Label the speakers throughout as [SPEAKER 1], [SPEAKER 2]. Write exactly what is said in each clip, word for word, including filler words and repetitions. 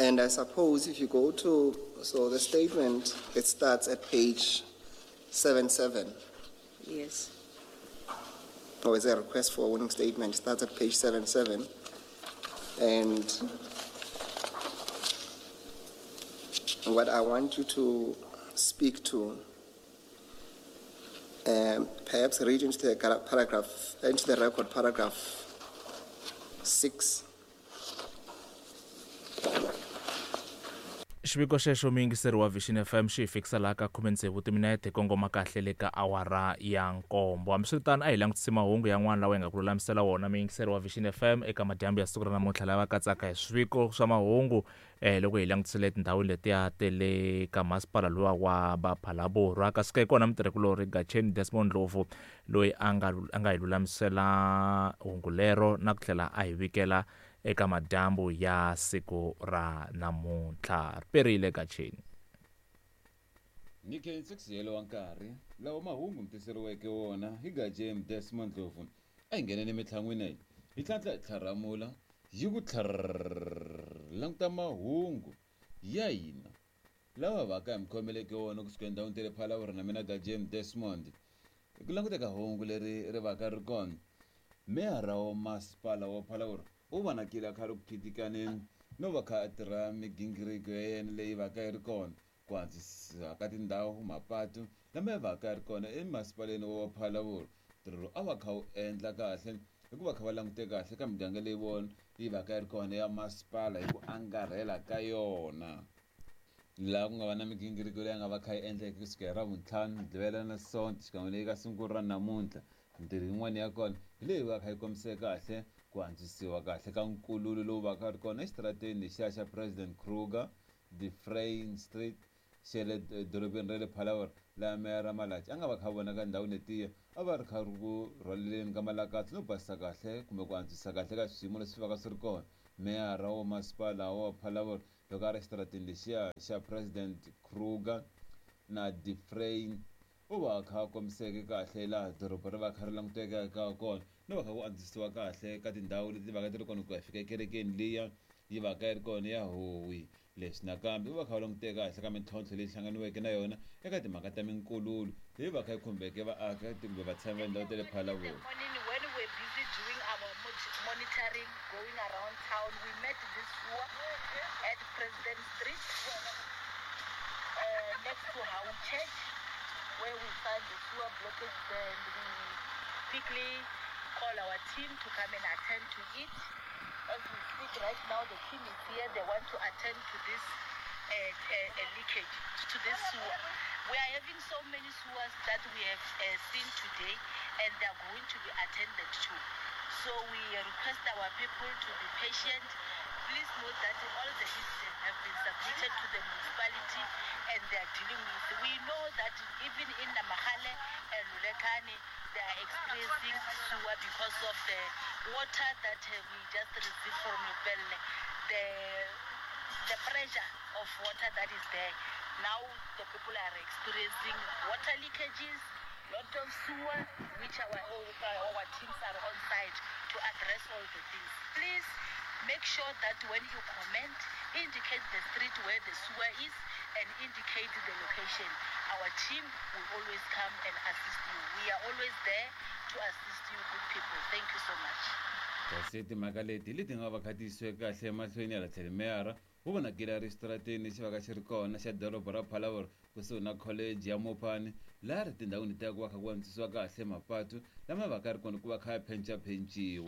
[SPEAKER 1] And I suppose if you go to, so the statement, it starts at page seven seven.
[SPEAKER 2] Yes.
[SPEAKER 1] Or is there a request for a warning statement? It starts at page seven seven. And what I want you to speak to, um, perhaps read into the paragraph, into the record paragraph six.
[SPEAKER 3] Xiviko xexo muyingiseri wa Vision F M xi hi fikisa laha ka khume tsevu timinete kongoma kahle le ka awara ya nkombo. Hambiswiritano a hi langutisi mahungu yan'wana lawa hi nga ku lulamisela wona muyingiseri wa Vision F M eka madyambu ya siku ra namuntlha lava katsaka hi swiviko swa mahungu eh loko hi langutisile tindhawu letiya ta le ka masipala luwa wa Ba-Phalaborwa. Kasi ka kona mutirhikulori Gatsheni Desmond Ndlovu loyi a nga a nga hi lulamisela hungu lero na ku tlhela a hi vikela eka madyambu ya siku ra namuntlha. Riperile Gatsheni.
[SPEAKER 4] Ni khensa yelo wa nkarhi lawa mahungu mi tiseriweke wona hi Gatsheni Desmond Ndlovu. A hi ngheneni emitlhangwini hi tlhantlha hi tlharamula yi ku tlharr languta mahungu ya hina lawa va ka hi mi khomeleke wona kusuka endhawini ta le Phalaborwa na mina Gatsheni Desmond. Hi ku languteka hungu leri ri va ka ri kona, meyara wa masipala wa Phalaborwa u vonakile a kha ri ku khitikaneni no va kha a tirha migingiriko ya yena leyi va ka yi ri kona ku antswisa ka tindhawu mapatu lama ya va ka yi ri kona emasipaleni wa Phalaborwa. Ntirho lowu a va kha wu endla kahle hikuva kha va langute kahle ka miganga leyi vona yi va ka yi ri kona ya masipala hi ku angarhela ka yona. Laha ku nga va na migingiriko leyi nga va kha yi endleke kusuka hi Ravuntlhanu, Mugqivela na Sonto xikan'we leyi ka siku ra namuntlha. Mintirho yin'wana ya kona hi leyi va kha yi kombise kahle ku antswisiwa kahle ka nkululo lowu va ka ri kona exitarateni lexiya xa President Kruger, De Frein Street xa le dorobeni ra le Phalaborwa, laha meyara Malatji a nga va kha vonaka ndhawu letiya a va ri kha ri ku rhwaleleni ka malakatsa no basisa kahle kumbe ku antswisa kahle ka swiyimo leswi va ka swi ri kona. Meyara wa masipala wa Phalaborwa loko a ri exitarateni lexiya xa President Kruger na De Frein u va kha a kombiseke kahle laha doroba ri va kha ri languteka ka kona no va kha ku antswisiwa kahle ka tindhawu leti va ka ti ri kona ku ya fika ekerekeni liya yi va ka yi ri kona ya Howi. Leswi nakambe u va kha va languteka kahle ka mintlhontlho leyi hlanganiweke na yona eka timhaka ta minkululo leyi va kha yi khumbeke vaaki kumbe vatshami va ndhawu ta le Phalaborwa.
[SPEAKER 5] When we were busy doing our monitoring, going around town, we met this sewer at President Street, uh, next to Hau Church, where we find the sewer blockage. Then we quickly call our team to come and attend to it. As we speak right now, the team is here. They want to attend to this uh, uh, uh, leakage, to this sewer. We are having so many sewers that we have uh, seen today, and they are going to be attended to. So we request our people to be patient. Please note that all the lists have been submitted to the municipality and they are dealing with. We know that even in Namahale and Lulekane, they are experiencing sewer because of the water that we just received from Lepelle, the, the pressure of water that is there. Now the people are experiencing water leakages, lot of sewer, which our, our teams are on site to address all the things. Please make sure that when you comment, indicate the street where the sewer is and indicate the location. Our team will always come and assist you. We are always there to assist you, good people. Thank you so much.
[SPEAKER 4] Kasi timhaka leti leti nga va kha ti yisiwe kahle emahlweni ya tlhelo meyara wu vonakile a ri xitarateni lexi va ka xi ri kona xa doroba ra Phalaborwa kusuhi na college ya Mopani, laha ri tindhawini ta ku va kha ku antswisiwa kahle mapatu lama va ka ri kona ku va kha ya phencapenciwa.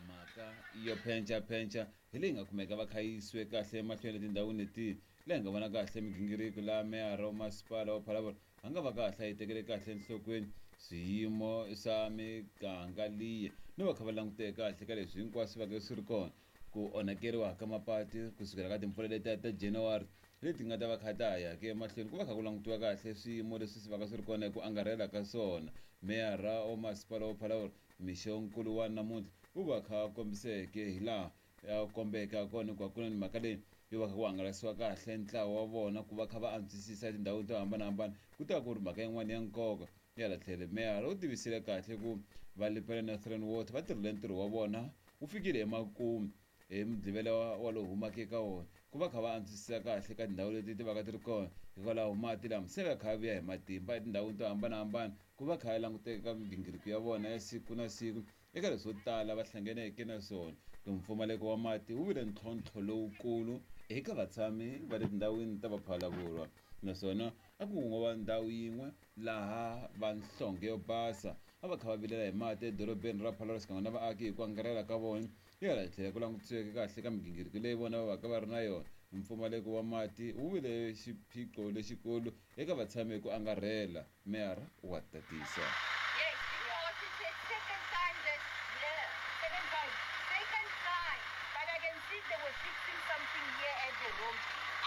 [SPEAKER 4] Mhaka yo phencapenca hi leyi nga kumeka va kha yi yisiwe kahle emahlweni etindhawini leti leyi nga vona kahle migingiriko laha meyara wa masipala wa Phalaborwa a nga va kahle a yi tekele kahle enhlokweni swiyimo swa miganga liya no va kha va languteke kahle ka leswi hinkwaswo va ka swi ri kona ku onhakeriwa ka mapatu kusukela ka timpfula letiya ta January leti nga ta va kha ta ya ke emahlweni ku va kha ku langutiwa kahle swiyimo leswi swi va ka swi ri kona hi ku angarhela ka swona. Meyara wa masipala wa Phalaborwa mixonkulu wa namuntlha u va kha a kombiseke hi laha ya kombeke ha kona hikuva ku na ni mhaka leyi yo va kha ku hangalasiwa kahle ntlawa wa vona ku va kha va antswisisa tindhawu to hambanahambana ku ta ku ri mhaka yin'wana ya nkoka. Ya la tlhelo meyara u tivisile kahle ku va Lepelle Northern Water va tirhile ntirho wa vona wu fikile emakumu hi mugqivela wa lowu humaka eka wona ku va kha va antswisa kahle ka tindhawu leti ti va ka ti ri kona hikwalaho mati lama se va kha va vuya hi matimba etindhawini to hambanahambana ku va kha ya languteka ka migingiriko ya vona ya siku na siku eka leswo tala va hlanganeke na swona. Mpfumaleko wa mati wu vile ntlhontlho lowukulu eka vatshami va le tindhawini ta Phalaborwa naswona a ku ngo va ndhawu yin'we laha va nhlonge yo basa a va kha va vilela hi mati edorobeni ra Phalaborwa xikan'we na vaaki hi ku angarhela ka vona hi hala tlhela ku langutisiweke kahle ka migingiriko leyi vona va va ka va ri na yona. Mpfumaleko wa mati wu vile xiphiqo lexikulu eka vatshami hi ku angarhela, meyara wa tatisa.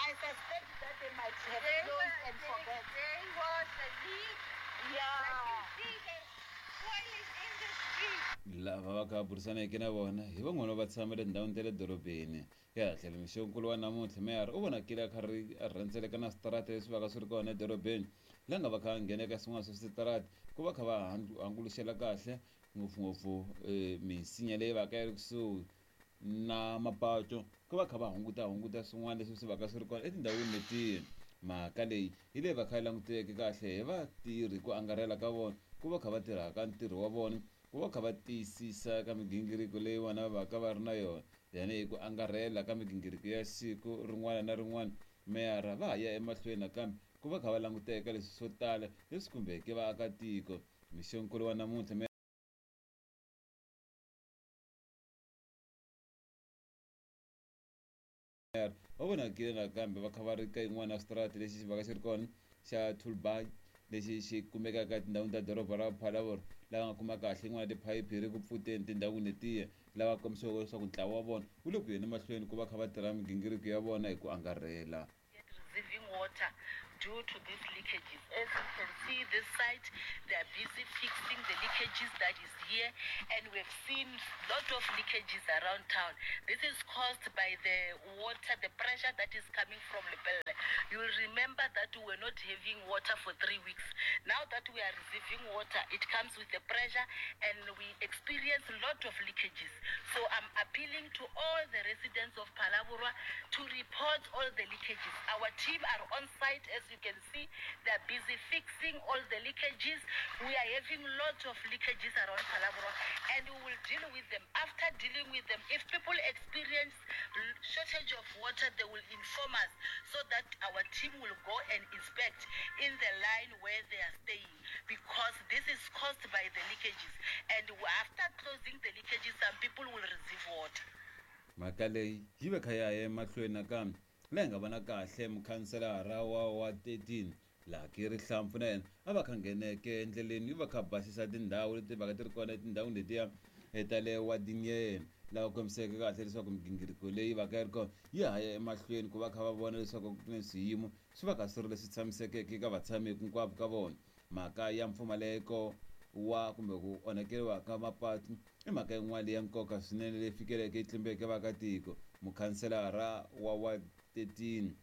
[SPEAKER 5] I suspect that they might have
[SPEAKER 2] They
[SPEAKER 5] closed
[SPEAKER 2] were,
[SPEAKER 5] and
[SPEAKER 2] they,
[SPEAKER 5] forget.
[SPEAKER 2] there was a leak.
[SPEAKER 5] Yeah.
[SPEAKER 2] Like you see, the soil is in the street.
[SPEAKER 4] Lava va kha va burisaneke na vona hi van'wana va tshama etindhawini ta le dorobeni. Hi hala tlhelo mixonkulu wa namuntlha meyara u vonakile a kha ri a rhendzeleka na switarata leswi va ka swi ri kona edorobeni laha nga va kha va nghena eka swin'wana swa switarata ku va kha va hanguluxela kahle ngopfungopfu misinya leyi va ka yi ri kusuhi na mapato ku va kha va hunguta hunguta swin'wana leswi swi va ka swi ri kona etindhawini letiya. Mhaka leyi hi leyi va kha yi languteke kahle hi vatirhi ku angarhela ka vona ku va kha va tirhaka ntirho wa vona ku va kha va tiyisisa ka migingiriko leyi vona va va ka va ri na yona tanihi ku angarhela ka migingiriko ya siku rin'wana na rin'wana. Meyara va ha ya emahlweni nakambe ku va kha va languteka leswi swo tala leswi khumbeke vaakatiko. Mixonkulu wa namuntlha va vonakile nakambe va kha va ri ka yin'wana ya switarata lexi xi va ka xi ri kona xa Tulbay lexi xi kumekaka etindhawini ta doroba ra Phalaborwa lava nga kuma kahle yin'wana tiphayiphi yi ri ku pfuteni tindhawini letiya lava kombisiweke leswaku ntlawa wa vona wu le ku yeni emahlweni ku va kha va tirha migingiriko ya vona hi ku angarhela.
[SPEAKER 5] Receiving water due to these leakages. As you can see this site, they are busy fixing the leakages that is here, and we've seen lot of leakages around town. This is caused by the water, the pressure that is coming from Lepelle. You will remember that we were not having water for three weeks. Now that we are receiving water, it comes with the pressure and we experience a lot of leakages. So I'm appealing to all the residents of Phalaborwa to report all the leakages. Our team are on site, as you can see. They are busy fixing all the leakages. We are having lots of leakages around Phalaborwa, and we will deal with them. After dealing with them, if people experience shortage of water, they will inform us so that our team will go and inspect in the line where they are staying, because this is caused by the leakages. And after closing the leakages, some people will receive water.
[SPEAKER 4] Mhaka leyi yi ve kha ya ya emahlweni nakambe laha hi nga vona kahle mukhanselara wa wa thirteen Lucky Rihlampfu na yena a va kha ngheneke endleleni yi va kha basisa tindhawu leti va ka ti ri kona etindhawini letiya ta le wadini ya yena lava kombiseke kahle leswaku migingiriko leyi va ka yi ri kona yi ha ya emahlweni ku va kha va vona leswaku ku na swiyimo swi va kha swi ri leswi tshamisekeke eka vatshami hinkwavo ka vona. Mhaka ya mpfumaleko wa kumbe ku onhakeriwa ka mapatu i mhaka yin'wana leyi ya nkoka swinene leyi fikeleke yi tlimbeke vaakatiko. Mukhanselara wa wa thirteen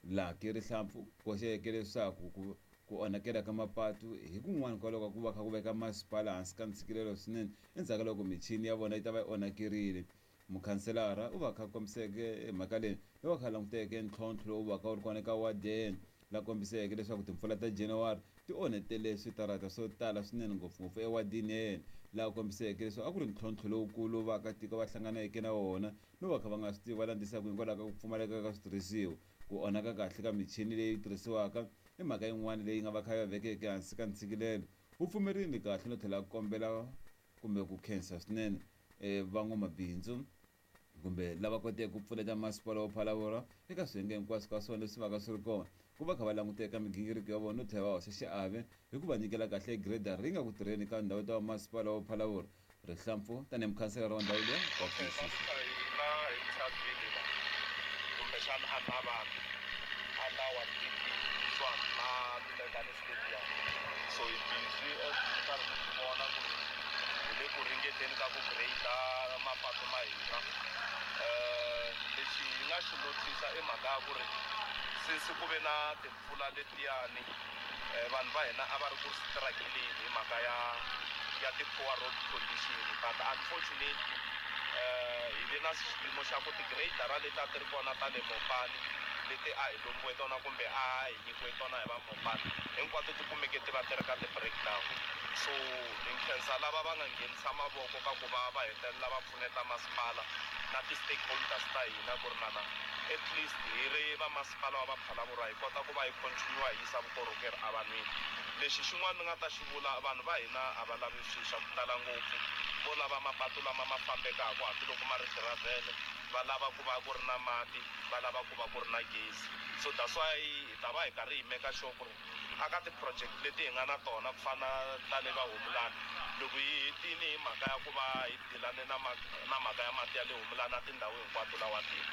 [SPEAKER 4] Lucky Rihlampfu koxeke leswaku ku ku onhakela ka mapatu hi kun'wana kwaloku ku va kha ku veka masipala hansi ka ntshikelelo swinene endzhaku ka loko michini ya vona yi ta va yi onhakerile. Mukhanselara u va kha kombiseke mhaka leyi yi va kha languteke ntlhontlho lowu va ka wu ri kona eka ward ya yena la kombiseke leswaku timpfula ta January ti onhetele switarata swo tala swinene ngopfungopfu ewadini ya yena laha kombiseke leswaku a ku ri ntlhontlho lowukulu vaakatiko va hlanganeke na wona no va kha va nga swi tivi va landzisaka hikwalaho ka ku pfumaleka ka switirhisiwa. Ku onhaka kahle ka michini leyi tirhisiwaka i mhaka yin'wana leyi nga va kha yi va vekeke hansi ka ntshikelelo. Wu pfumerile kahle no tlhela kombela kumbe ku khensa swinene van'wamabindzu kumbe lava koteke ku pfuneta masipala wa Phalaborwa eka swiyenge hinkwaswo ka swona leswi va ka swi ri kona ku va kha va languteka migingiriko ya vona no tlhela va hoxa xiave hi ku va nyikela kahle grader ri nga ku tirheni ka ndhawu ta masipala wa Phalaborwa. Rihlampfu tanihi mukhanselara wa ndhawu leyi wa tiyisisa.
[SPEAKER 6] Kumbexana a na vanhu a na wa na Lulekani Stadium. So hi busy as mi karhi mi swi vona ku hi le ku ringeteni ka ku grade mapatu ma hina. Lexi hi nga xi notice i mhaka ya ku ri since ku ve na timpfula letiyani vanhu va hina a va ri ku struggling hi mhaka ya ya ti-poor road condition, but unfortunately um hi ve na xiyimo xa ku ti-gradara leti a ti ri kona ta le Mopani leti a hi lombiwe tona kumbe a hi nyikiwe tona hi va Mopani hinkwato ti kumeke ti va ti ri ka ti-breakdown. So hi nkhensa lava va nga nghenisa mavoko ka ku va va hetelela va pfuneta masipala na ti-stakeholders ta hina ku ri na na at least hi ri va masipala wa va Phalaborwa hi kota ku va hi continue hi yisa vukorhokeri evanhwini. Lexi xin'wana ni nga ta xi vula, vanhu va hina a va lavi swilo swa ku tala ngopfu, vo lava mapatu lama ma fambekaka hambiloko ma ri giravhele, va lava ku va ku ri na mati, va lava ku va ku ri na gezi. So that's why hi ta va hi karhi hi make sure ku ri aka ti-project leti hi nga na tona ku fana ta le va Humulani, loko hi hetini hi mhaka ya ku va hi dilane na na mhaka ya mati ya le Humulani na tindhawu hinkwato lawa tini,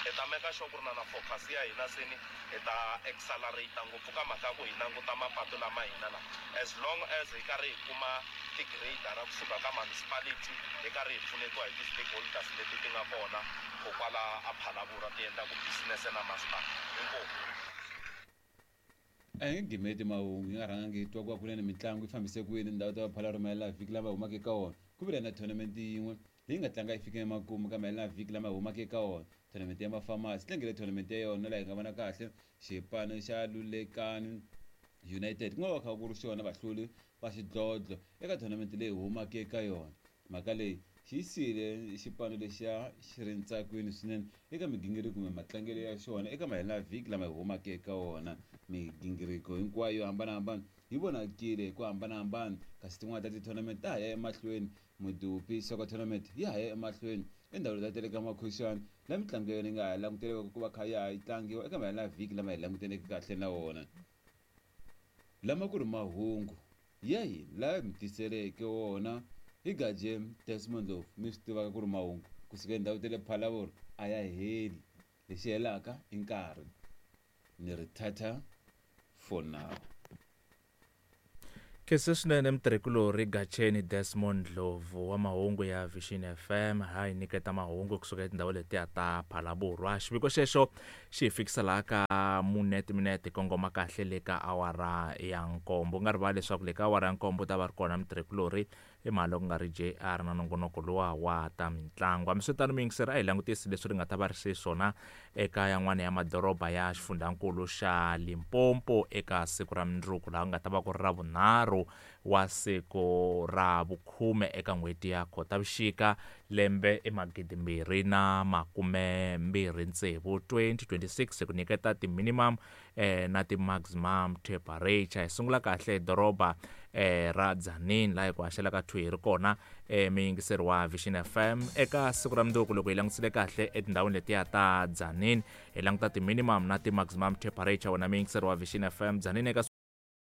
[SPEAKER 6] hi ta make sure ku ri na na focus ya hina seni hi ta accelerate ngopfu ka mhaka ya ku hi languta mapatu lama hina la, as long as hi karhi hi kuma ti-gradara kusuka ka municipality, hi karhi hi pfunetiwa hi ti-stakeholders leti ti nga kona kokwala a Phalaborwa ti endlaku business na masipala. Inkomu.
[SPEAKER 4] A hi nge gimeti mahungu hi nga rhangangi hi twa ku va kunene mitlangu yi fambise ku yini ndhawu ta Phalaborwa mahela vhiki lama humaka eka wona. Ku vile na tournament yin'we leyi nga tlanga yi fike emakumu ka mahela vhiki lama humaka eka wona, tournament ya mafamasi tlangile tournament ya yona laha hi nga vona kahle xipano xa Lulekani United ku nga va kha ku ri xona vahluli va xidlodlo eka tournament leyi humaka eka yona. Mhaka leyi xi yisile xipano lexiya xi ri ntsakweni swinene eka migingiriko kumbe matlangelo ya xona eka mahela vhiki lama hi humaka eka wona. Migingiriko hinkwayo yo hambanahambana yi vonakile hi ku hambanahambana, kasi tin'wana ta ti-tournament ta ha ya emahlweni. Mudupi soccer tournament ya ha ya emahlweni endhawini ta tele ka Makhuxani laha mitlangu ya yona yi nga ha languteriwaka ku va kha ya ha yi tlangiwa eka mahela vhiki lama hi languteneke kahle na wona. Lama ku ri mahungu ya hina laha mi tiseleke wona hi Gaje Desmond Ndlovu. Mi swi tivaka ku ri mahungu kusuka endhawu ta le Phalaborwa a ya heli, lexi helaka i nkarhi. Ni ri tata for now.
[SPEAKER 3] Khensa swinene mutirhikulori Gacheni Desmond Ndlovu wa mahungu ya Vision F M ha hi nyiketa mahungu kusuka etindhawu letiya ta Phalaborwa. Xiviko xexo xi hi fikisa laha ka mune timinete kongoma kahle le ka awara ya nkombo. U nga rivali leswaku le ka awara ya nkombo ta va ri kona mutirhikulori i mhaka ku nga ri J R na nongonoko luwa wa ta mitlangu. Hambiswiritano muyingiseri a hi langutisi leswi ri nga ta va ri xiswona eka yan'wana ya madoroba ya xifundzankulu xa Limpopo eka siku ra mundzuku laha ku nga ta va ku ri ra vunharhu wa siku ra vukhume eka n'hweti ya Khotavuxika lembe i magidi mbirhi na makume mbirhi tsevu twenty twenty-six ku nyiketa ti-minimum eh, na ti-maximum temperature. Hi sungula kahle doroba eh, ra Tzaneen laha hi ku haxela ka two hi ri kona eh, muyingiseri wa Vision F M eka siku ra mundzuku. Loko hi langutisile kahle etindhawini letiya ta Tzaneen hi languta ti-minimum na ti-maximum temperature. Wena muyingiseri wa Vision F M, Tzaneen eka